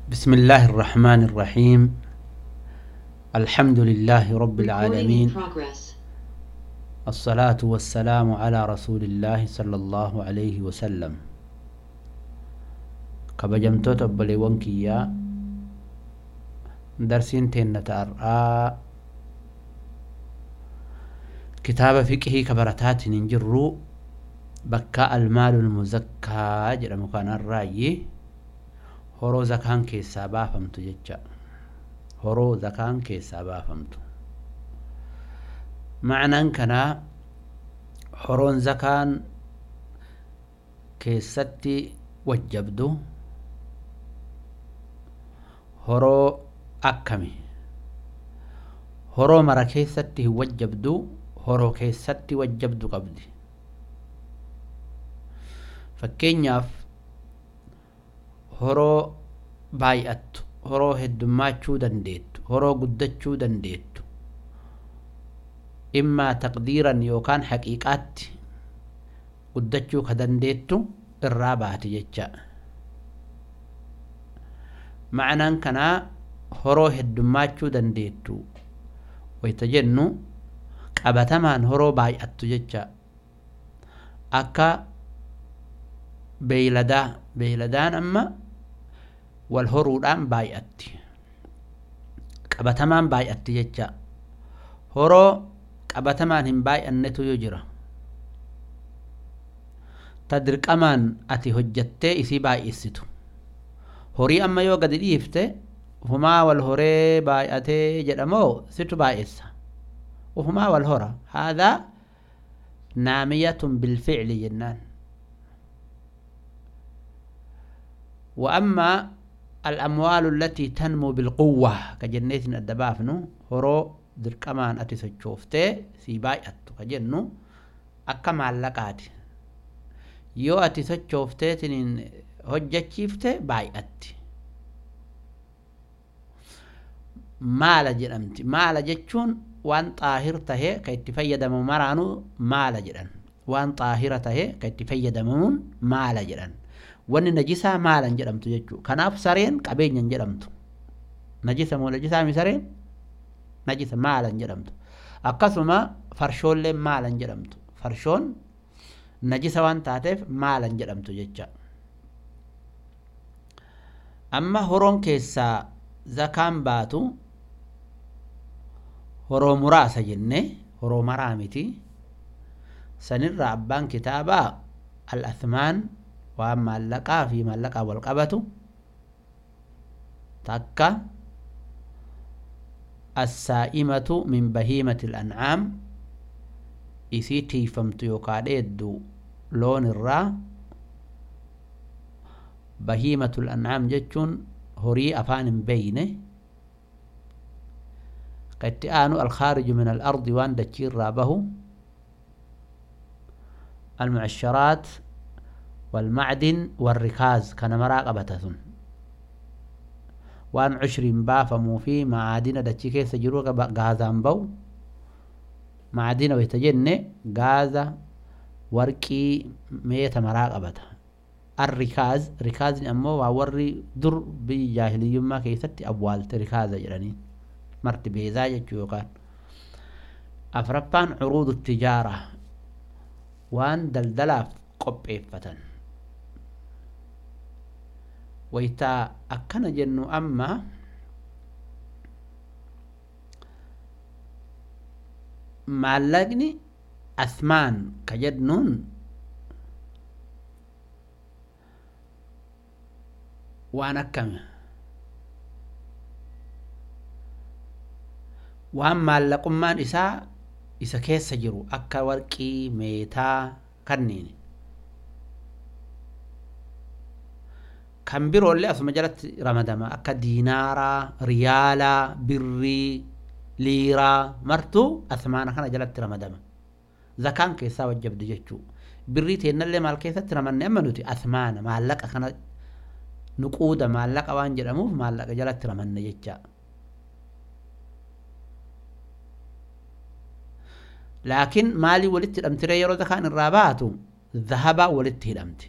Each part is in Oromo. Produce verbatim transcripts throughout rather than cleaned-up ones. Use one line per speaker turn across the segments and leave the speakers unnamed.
بسم الله الرحمن الرحيم. الحمد لله رب العالمين، الصلاة والسلام على رسول الله صلى الله عليه وسلم. Kabajamtoota obboleewwan kiyyaa, darsiin teenna ta'ar'aa kitaaba fiqhii kabarataatiin hin jirru, bakka المال المزكى jedhamu kanarraayyi horoo zakaan keessaa baafamtu jecha. Horoo zakaan keessaa baafamtu ma'anaan kanaa horoon zakaan keessatti wajjabdu horoo akkami? Horoo mara keessatti hin wajjabdu, horoo keessatti wajjabdu qabdi. Fakkeenyaaf, horoo baay'attu, horoo heddummaachuu dandeettu, horoo guddachuu dandeettu, immaa taqdiiran yookaan haqiiqaatti guddachuu ka dandeettu irraa baati jecha. Ma'anaan kanaa horoo heddummaachuu dandeettu wayta jennu qabatamaan horoo baay'attu jecha. Akka beeyladaa, beeyladaan amma wal horuudhaan baay'atti, qabatamaan baay'atti jecha. Horoo qabatamaan hin baay'annetu yoo jira, ta dirqamaan ati hojjattee isii baay'isitu. Horii amma yoo gadi dhiifte ufumaa wal horee baay'atee jedhamoo situ baay'essa? Ufumaa wal hora. هذا نامية بالفعل jennaan. وأما الأموال التي تنمو بالقوة كجنيت الدبافنو horoo dirqamaan ati sochooftee sii baay'attu ka jennu akka maallaqaati. Yoo ati sochoofteetiniin hojjachiifte baay'atti, maala jedhamti. Maala jechuun waan xaahir tahee ka itti fayyadamu maraanuu maala jedhan. Waan xaahira tahee ka itti fayyadamamuun maala jedhan. Wanni najisaa maalan jedhamtu jechuu. Kanaaf sareen qabeenyan jedhamtu. Najisa moo najisaa mi sareen? Najisa, maalan jedhamtu. Akkasuma farshoolleen maalan jedhamtu. Farshoon najisa waan taateef maalan jedhamtu jecha. Amma horoon keessaa zakaan baatu horoo muraasa jenne, horoo maraa miti. Sanirra abbaan kitaabaa الأثمان, waan maallaqaa fi maallaqaa wal qabatu takka, السائمة من بهيمة الأنعام, isii tiifamtu yookaa dheeddu loon irraa. بهيمة الأنعام jechuun horii afaan hin beeyne. Ka itti aanu الخارج من الأرض, waan dachii irraa bahu, المعشرات والمعدن والركاز, kana maraa qabata. Sun waan cushriin baafamuu fi macaadina dachii keessa jiru, gaazaan bahu. Macaadina wayta jenne gaaza, warqii, meeta maraa qabata. الركاز, rikaazni ammoo waa warri dur biyya jaahiliyyummaa keessatti awwaalte rikaaza jedhanii, marti beezaa jechuu. Yookaan afraffaan عروض التجارة, waan daldalaaf qopheeffatan. Waytaa akkana jennu amma maallaqni أثمان ka jennuun waan akkami? Waan maallaqummaan isaa isa keessa jiru, akka warqii, meetaa kanneen kan biroollee asuma jalatti ramadama, akka diinaaraa, riyaalaa, birrii, liiraa martuu asmaana kana jalatti ramadama. Zakaan keessaa wajjabdu jechuu. Birrii teennallee maal keessatti ramanne amma nuti? Asmaana, maallaqa kana, nuquuda, maallaqa waan jedhamuuf maallaqa jalatti ramanne jecha. Laakiin maalii walitti hidhamtiree yeroo zakaan irraa baatu? Zahabaa walitti hidhamti.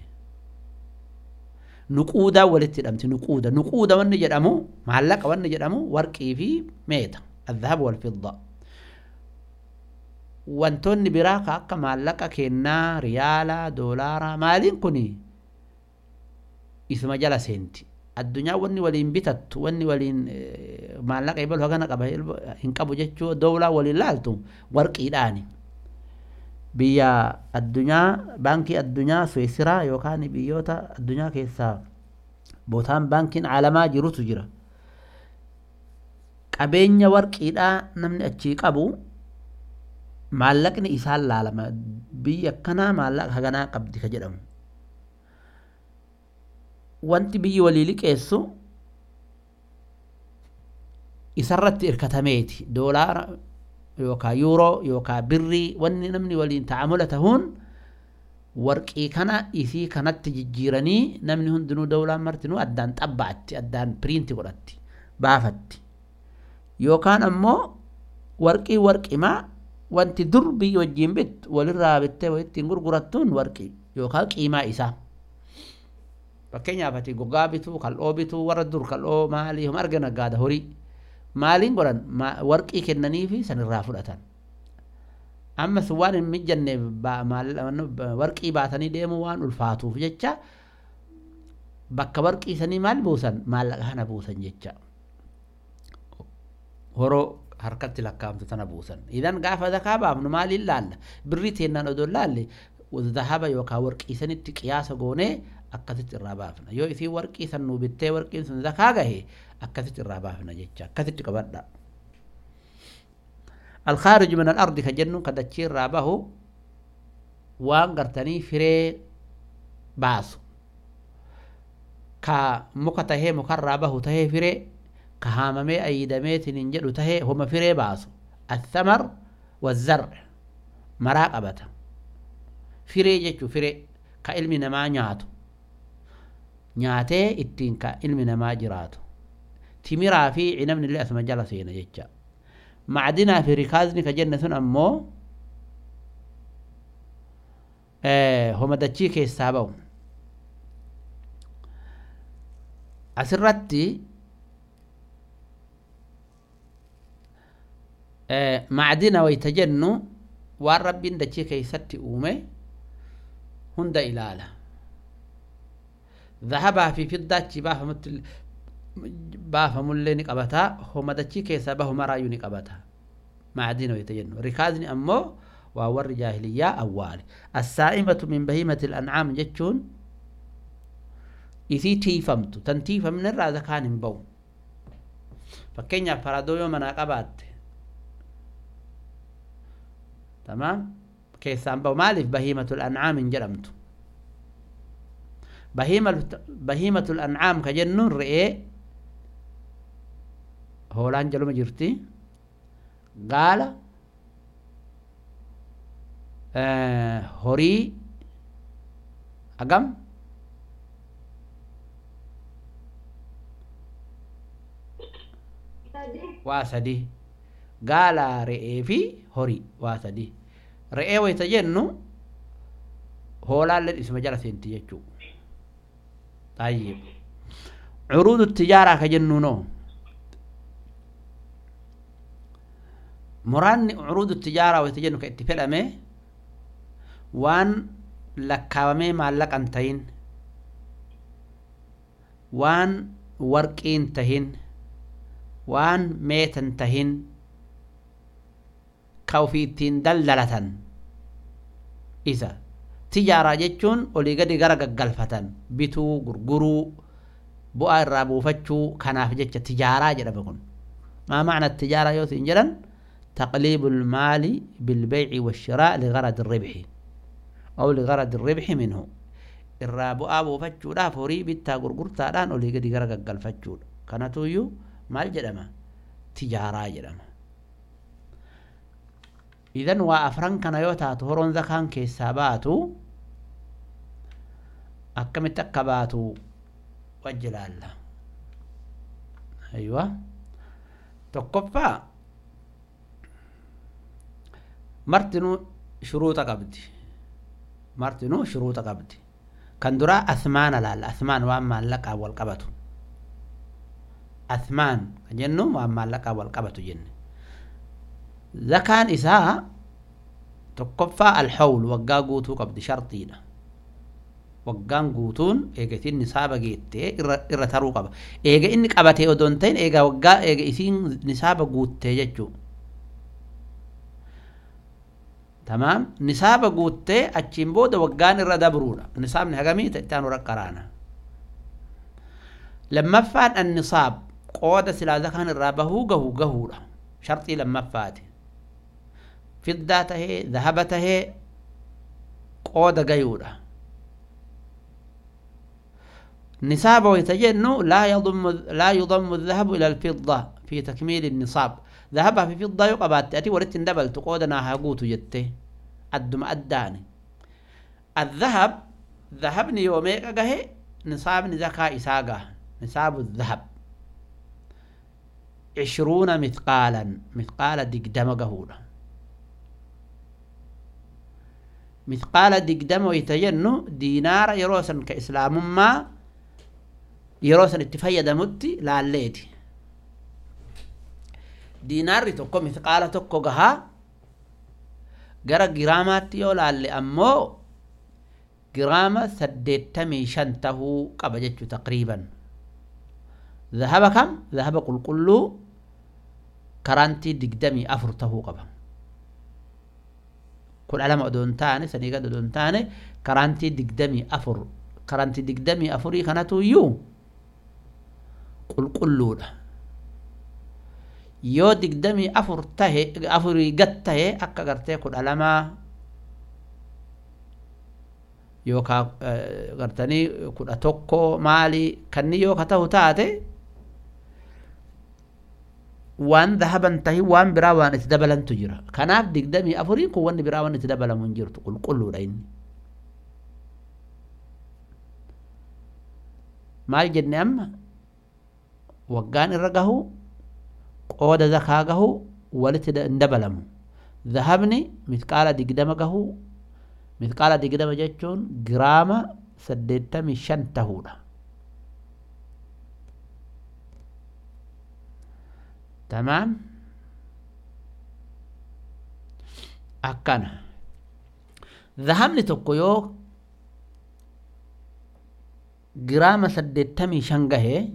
Nuquudaa walitti hidhamti. Nuquuda nuquuda wanni jedhamu maallaqa wanni jedhamu warqii fi meeta الذهب والفضة. Wantoonni biraa ka akka maallaqa kennaa riyaala doolaara maaliin kuni isuma jala seenti. Addunyaa wanni waliin bitattu wanni waliin maallaqa ibalu hagana qaba hin qabu jechuu dowlaa waliin laaltu warqiidhaani. Biyya addunyaa baankii addunyaa Suwisiraa yookaan biyyoota addunyaa keessaa bootaan baankiin caalamaa jirutu jira. Qabeenya warqiidhaa namni achii qabu maallaqni isaan laalama biyya akkanaa maallaqa haganaa qabdi ka jedhamu. Wanti biyyi walii liqeessu isarratti hirkatameeti. Doolaara yookaan yuuroo yookaan birrii wanni namni waliin ta'amula tahuun warqii kana isii kanatti jijjiiranii namni hundinuu dawlaan martinuu addaan xabbaatti addaan piriinti godhatti baafatti. Yookaan ammoo warqii warqimaa wanti dur biyya wajjin bittu walirraa bittee walittiin gurgurattuun warqii yookaan qiimaa isaa. Fakkeenyaaf ati gogaa bituu kal'oo bituu warra dur kal'oo maalii homa argina gaada horii maaliin godhan warqii kennaniifi sanirraa fudhatan. Ammas waan hin mijanneef warqii baatanii deemuu waan ulfaatuuf jecha bakka warqii sanii maal buusan maallaqa kana buusan jecha. Horoo harkatti lakkaa'amtu tana buusan. Idan gaafa zakaa baafnu maaliin laalla? Birrii teennaan odoo laalle zahaba yookaan warqii sanitti qiyaasa goonee akkasitti irraa baafna. Yoo isii warqii san nuu bittee warqiin sun zakaa gahe akkasitti irraa baafna jecha. Akkasitti qabadha. Alkhaariju min al-ardi ka jennuun ka dachii irraa bahu waan gartanii firee baasu. Ka muka tahee mukarraa bahu tahee firee ka haamamee ayidameetiin hin jedhu tahee homa firee baasu. Athamar wazzar maraa qabata. Firee jechuu firee ka ilmi namaa nyaatu. Nyaatee ittiin ka ilmi namaa jiraatu. Timiraa fi cinabni illee asuma jala seena jecha. Macdinaa fi rikaazni ka jenne sun ammoo homa dachii keessaa ba'u. Asirratti macdina wayta jennu waan rabbiin dachii keessatti uume hunda ilaala. Zahabaa fi fiddaa achi baafamutti baafamullee ni qabata. Homa dachii keessaa bahu maraayyuu ni qabata. Macdina wayta jennu. Rikaazni ammoo waa warri jaahiliyyaa awwaale. Assaa'imatu min bahiimati al-an'aam jechuun isii tiifamtu tan tiifamne irraa zakaan hin ba'u. Fakkeenyaaf faradoo yoo manaa qabaatte tamaam keessaan ba'u maaliif bahiimatul an'aam hin jedhamtu. Bahiimatul an'aam ka jennuun re'ee hoolaan jaluma jirti gaala horii hagam waa sadii gaala re'ee fi horii waa sadii. Re'ee wayita jennu hoolaallee isuma jala seenti jechuu. طيب عروض التجارة كجنو نو مران عروض التجارة ويتجنو كاتفال أمي وان لكاومي معلق أنتين وان ورقين تهين وان ميتن تهين كوفيتين دلدلة إذا تجارة جتون olii gadi gara gaggalfatan bituu gurguruu bu'aa irraa buufachuu kanaaf jecha tijaaraa jedhama kun. ما معنى التجارة yoo siin jedhan تقليب المال بالبيع والشراء لغرض الربح أو لغرض الربح منه. irraa bu'aa buufachuudhaaf horii bittaa gurgurtaadhaan olii gadi gara gaggalfachuudha. Kanatuyyuu maal jedhama? Tijaaraa jedhama. إذن waa afran kana yoo taatu horoon zakaan keessaa baatu akkamitti akka baatu wajji laalla. Aywa tokkoffaa martinuu shuruuxa qabdi. Martinuu shuruuxa qabdi. Kan duraa asmaana laalla. Asmaan waan maallaqaa wal qabatu. Asmaan kan jennu waan maallaqaa wal qabatu jenne. Zakaan isaa tokkoffaa alhawl waggaa guutuu qabdi shartiidha. Waggaan guutuun eega isiin nisaaba geettee irra taruu qaba. Eega inni qabatee odoo hin ta'in eega waggaa eega isiin nisaaba guuttee jechuu. Tamaam nisaaba guuttee achiin booda waggaan irra dabruudha. Nisaabni hagamii itti aanu raqqaraana. Lammaffaan annisaab qooda silaa zakaan irraa bahuu gahu gahuudha. Sharxii lammaffaati. Fiddaa tahee zahaba tahee qooda gayuudha. نصاب ويتجن لا يضم لا يضم الذهب إلى الفضة في تكميل النصاب. ذهبها في فضة يقبات تأتي ورت دبل تقودنا هاقوت جته أدم أداني. الذهب ذهبني يوميك أجه نصاب نزكاة إساقة نصاب الذهب عشرون مثقالا مثقال دقدم قهولة مثقال دقدم ويتجن دينار يروسا كإسلام ما yeroo san itti fayyadamutti laalleeti. Diinaarri tokko mithqaala tokko gahaa gara giraamaatti yoo laalle ammoo giraama saddeettamii shan tahuu qaba jechuu taqriiban. Zahaba kam? Zahaba qulqulluu karaantii digdamii afur tahuu qaba. Kudha lama odoo hin taane sanii gad odoo hin taane karaantii digdamii afur karaantii digdamii afurii kanatu iyyuu qulqulluudha. Yoo digdamii afur tahe afurii gad tahe akka gartee kudha lamaa yookaan gartanii kudha tokko maali kanni yoo ka ta'u taate waan dhahaban tahi waan biraa waan itti dabalantu jira. Kanaaf digdamii afuriin kun wanni biraa waan itti dabalamu hin jirtu qulqulluudha inni. Maal jenne amma waggaan irra gahu qooda zakaa gahu walitti hin dabalamu. Zahabni mithqaala digdama gahu mithqaala digdama jechuun giraama saddeettamii shan tahuudha. Tamaam akkana. Zahabni tokko yoo giraama saddeettamii shan gahee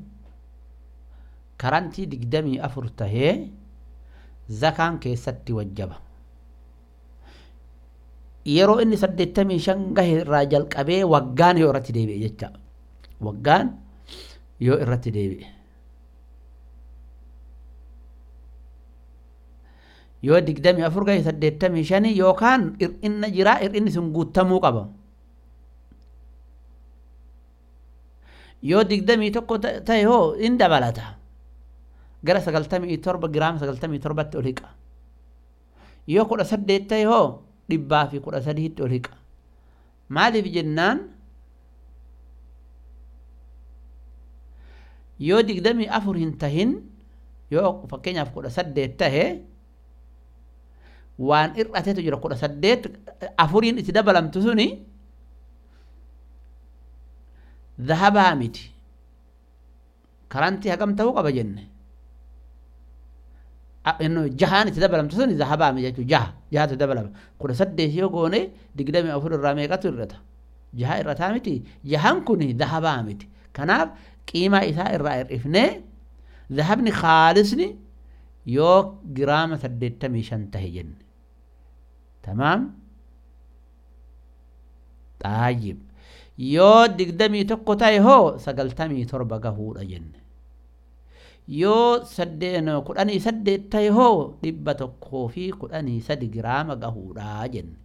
karantii digdamii afur tahee zakaan keessatti wajjaba. Yeroo inni saddeettamii shan gahe irraa jalqabee waggaan yoo irratti deebi'e jecha. Waggaan yoo irratti deebi'e. Yoo digdamii afur gahe saddeettamii shanii yookaan hir'inna jiraa hir'inni sun guutamuu qaba. Yoo digdamii tokko ta'e hoo in dabalata. Gara sagaltamii torba giraama sagaltamii torbatti ol hiqa. Yoo kudha saddeet ta'e hoo dhibbaa fi kudha sadiitti ol hiqa. Maaliif jennaan yoo digdamii afur hin tahin yoo fakkeenyaaf kudha saddeet tahe waan hir'ateetu jira kudha saddeet afuriin itti dabalamtu suni dhahabaa miti. Karantii hagam ta'uu qaba jenne. Innu jahaan itti dabalamtu suni dhahabaa miti jechuudha. Jaha jahatu dabalama. Kudha saddeet yoo goone digdamii afur irraa meeqatu hir'ata? Jaha irrataa miti. Jahaan kun dhahabaa miti. Kanaaf qiimaa isaa irraa hir'ifnee dhahabni khaalisni yoo giraama saddeettamii shan tahe jenne. Tamaam? Xaayib. Yoo digdamii tokko ta'e hoo sagaltamii torba gahuudha jenne. Yoo saddeen kudhanii saddeet ta'e hoo dhibba tokkoo fi kudhanii sadi giraama gahuudha jenne.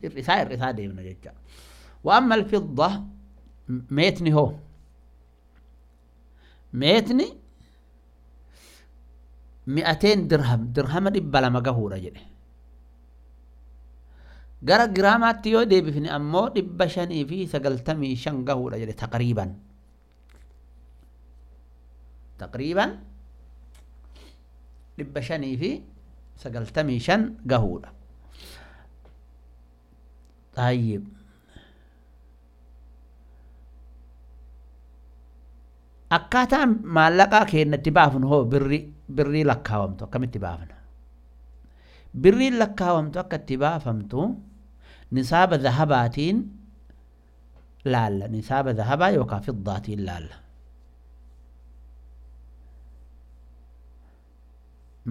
Hir'isaa hir'isaa deemna jecha. Wa amma alfidda meetni hoo meetni mi'ateen dirham dirhama dhibba lama gahuudha jedhe. Gara giraamaatti yoo deebifne ammoo dhibba shanii fi sagaltamii shan gahuudha jedhe taqriiban. Taqriiban dhibba shanii fi sagaltamii shan gahuudha. Tayyib. Akkaataan maallaqaa keenyatti baafnu hoo birrii birrii lakkaawamtu akkamitti baafna? Birriin lakkaawamtu akka itti baafamtu nisaaba zahabaatiin laalla, nisaaba zahabaa yookaan fiddaatiin laalla.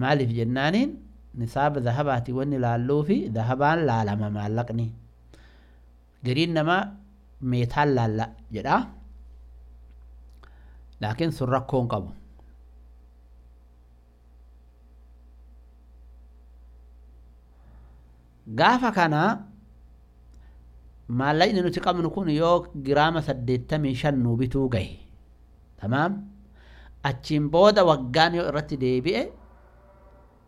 Maaliif jennaaniin nisaaba zahabaatiin wanni laalluu fi zahabaan laalama maallaqni. Gariin namaa meetaan laalla jedha. Laakiin sun rakkoo hin qabu. Gaafa kana maallaqni nuti qabnu kun yoo giraama saddeettamii shan nuu bituu gahe, tamaam, achiin booda waggaan yoo irratti deebi'e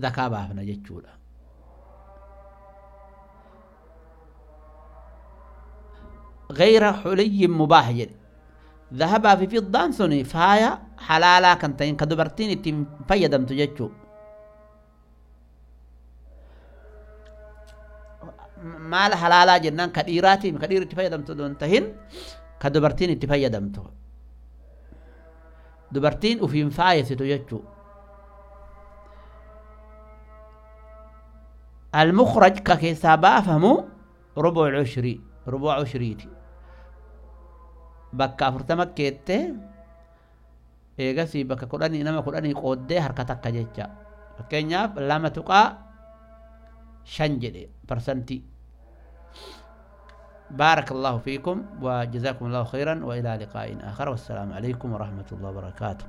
zakaa baafna jechuudha. غير حلي مباح jedhe. Zahabaa fi fiddaan suni faaya halaalaa kan ta'in ka dubartiin ittiin fayyadamtu jechuu. Maal halaalaa jennaan ka dhiiraatiin ka dhiirri itti fayyadamtu osoo hin tahin ka dubartiin itti fayyadamtu. Dubartiin ufiin faayessitu jechuu. المخرج ka keessaa baafamu rubuc cushrii, rubuc cushriiti. Bakka afurtama keettee eegasii bakka kudhanii nama kudhanii qooddee harka takka jecha. Fakkeenyaaf lama tuqaa shan jedhe parsantii. بارك الله فيكم وجزاكم الله خيرا وإلى لقاء آخر، والسلام عليكم ورحمة الله وبركاته.